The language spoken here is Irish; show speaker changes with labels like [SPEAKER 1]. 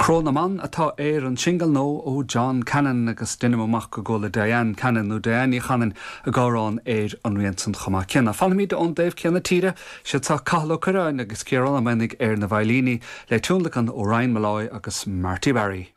[SPEAKER 1] Cró na mBan atá ar an singil nua ó John Cannon agus deinim amach go gcuala Diane Cannon nó Diane Ní Chanainn ag amhrán ar an rian san chomh maith céanna. Fanfaimid ón dtaobh céanna tíre, siad seo Cathal Ó Curráin agus Ciarán Ó Maonaigh ar na veidhlíní le tionlacan ó Ryan Molloy agus Marty Barry.